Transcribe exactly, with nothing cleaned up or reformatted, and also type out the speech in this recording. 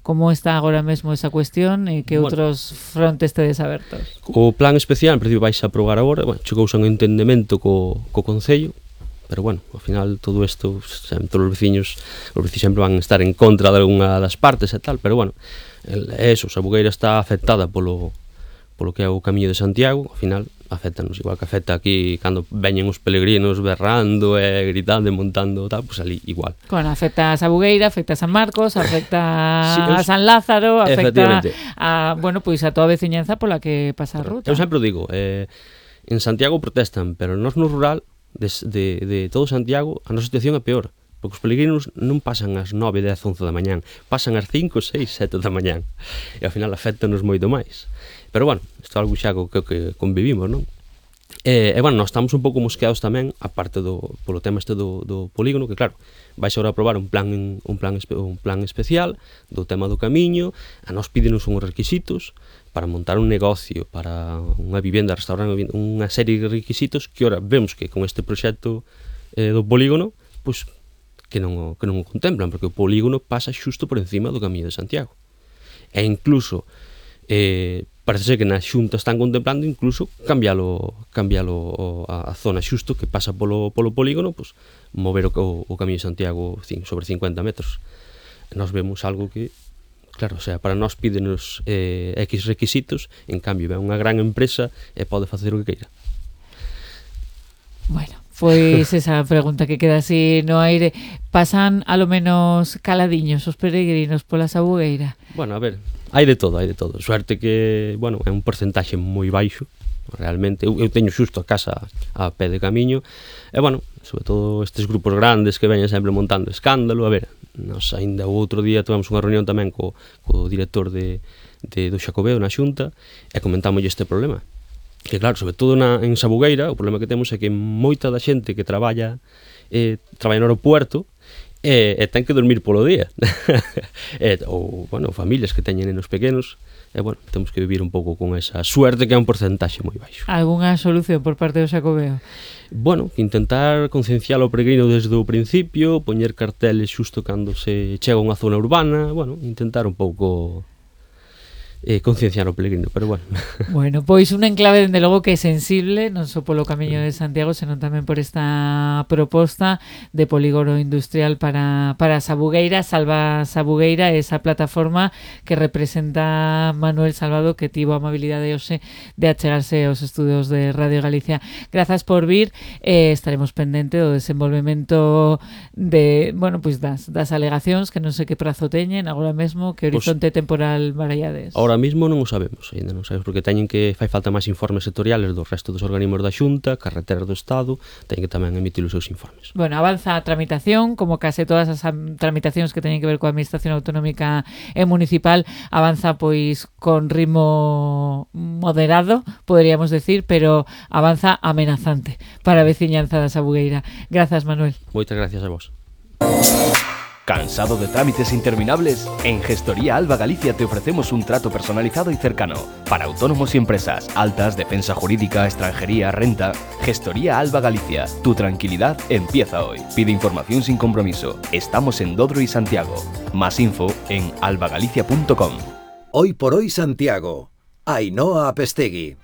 como está agora mesmo esa cuestión e que Bueno. outros frontes tedes abertos? O plan especial, en principio, vais a aprobar agora, bueno, chegouse a un entendemento co, co Concello, pero bueno, ao final todo isto, sempre, todos os veciños, os veciños sempre van a estar en contra de algunha das partes e tal, pero bueno, é eso, Sabugueira está afectada polo, polo que é o Camiño de Santiago, ao final afectanos, igual que afecta aquí cando veñen os peregrinos berrando e gritando e montando tal, pois pues ali igual. Bueno, afecta a Sabugueira, afecta a San Marcos, afecta Sí, a eu- San Lázaro, afecta Efectivamente. a, bueno, pois a toda a veciñanza pola que pasa a ruta. Eu sempre o digo, eh, en Santiago protestan, pero nós no rural de, de, de todo Santiago a nosa situación é peor, porque os peregrinos non pasan ás nove, dez, once da mañán, pasan ás cinco, seis, sete da mañán, e ao final afectanos moito máis. Pero bueno, isto é algo xa co que, que convivimos, non? E, e bueno, nós estamos un pouco mosqueados tamén, aparte do, polo tema este do, do polígono, que claro, vais agora a aprobar un plan, un plan, espe, un plan especial do tema do camiño, a nós pídenos uns requisitos para montar un negocio, para unha vivenda, restaurante, unha serie de requisitos que ora vemos que con este proxecto eh, do polígono, pois que non, o- que non o contemplan, porque o polígono pasa xusto por encima do Camiño de Santiago. E incluso eh, parece ser que na Xunta están contemplando incluso cambialo, cambialo o- a, a zona xusto que pasa polo, polo polígono, pues, mover o, o, o Camiño de Santiago cin, sobre cincuenta metros. E nós vemos algo que, claro, o sea, para nós pídenos eh, X requisitos, en cambio ven unha gran empresa e pode facer o que queira. Bueno, pois esa pregunta que queda así no aire. Pasan a lo menos caladiños os peregrinos pola Sabugueira? Bueno, a ver, hai de todo, hai de todo. Suerte que, bueno, é un porcentaxe moi baixo, realmente. Eu, eu teño xusto a casa a pé de camiño, e, bueno, sobre todo estes grupos grandes que veñen sempre montando escándalo. A ver, nos ainda o outro día tivemos unha reunión tamén co, co director de, de, do Xacobeo na Xunta, e comentámoslle este problema. Que claro, sobre todo na, en Sabugueira, o problema que temos é que moita da xente que traballa eh, traballa no aeropuerto e, e ten que dormir polo día. e, ou, bueno, familias que teñen nenos pequenos, e, bueno, temos que vivir un pouco con esa suerte que é un porcentaxe moi baixo. Algúnha solución por parte do Xacobeo? Bueno, intentar concienciar o peregrino desde o principio, poñer carteles xusto cando se chega a unha zona urbana, bueno, intentar un pouco eh, concienciar o peregrino, pero bueno. Bueno, pois un enclave dende logo que é sensible, non só polo Camiño de Santiago, senón tamén por esta proposta de polígono industrial para, para Sabugueira, Salva Sabugueira, esa plataforma que representa Manuel Salvado, que tivo a amabilidade hoxe de achegarse aos estudios de Radio Galicia. Grazas por vir, eh, estaremos pendente do desenvolvemento de, bueno, pois das, das alegacións, que non sei que prazo teñen agora mesmo, que horizonte temporal barallades. Ahora mismo non o sabemos, ainda non sabemos, porque teñen que fai falta máis informes sectoriales do resto dos organismos da Xunta, carreteras do Estado, teñen que tamén emitir os seus informes. Bueno, avanza a tramitación, como case todas as am- tramitacións que teñen que ver coa Administración Autonómica e Municipal, avanza pois con ritmo moderado, poderíamos decir, pero avanza amenazante para a veciñanza da Sabugueira. Grazas, Manuel. Moitas gracias a vos. ¿Cansado de trámites interminables? En Gestoría Alba Galicia te ofrecemos un trato personalizado y cercano para autónomos y empresas, altas, defensa jurídica, extranjería, renta. Gestoría Alba Galicia, tu tranquilidad empieza hoy. Pide información sin compromiso. Estamos en Dodro y Santiago. Más info en albagalicia punto com. Hoy por hoy Santiago. Ainhoa Apestegui.